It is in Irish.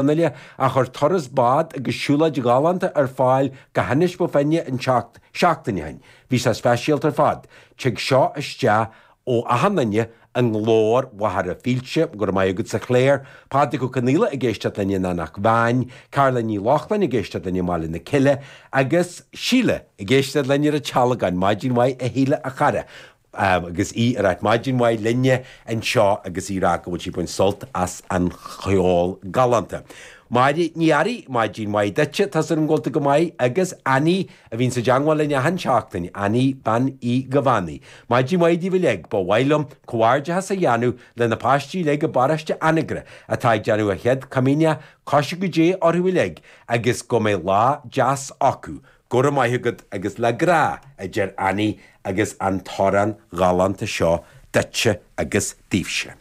Fhionnaile a chuir turas bád agus siúlóid ghalánta ar fáil go hInis Bó Finne an tseacht seachtain ó shin. Bhí sé speisialta ar fad. Tig seo isteach ó achan duine i nGlór Mhachaire Fílte. Go raibh maith agatsa Claire. Pádraig Ó Conaola ag éisteacht linn in Eanach Mheáin, Carla Ní Lochlainn ag éisteacht linn i mBaile na Cille agus Síle ag éisteacht linn ar an Tealgán. Maidin mhaith a Shíle a chara. agus í ag ráit maidin mhaith linne anseo agus í ag rá go bhfuil sí ag baint sult as an cheol galánta. Máire Ní Fhearraigh, maidin mhaith duitse, tá súil agam go bhfuil tú go maith agus Annie a bhíonn i dteangmháil linn achan seachtain, Annie Bean Uí Ghabhánaigh. Maidin mhaith daoibh uilig, ba mhaith liom comhghairdeachas a dhéanamh le na páistí uilig i bparóiste Anagaire atá ag déanamh a chéad comaoineach, cois go Dé orthu uilig agus go mbeidh lá deas acu. Go raibh maith agat agus le grá, a deir Annie agus an t-amhrán galánta seo duitse agus daoibhse.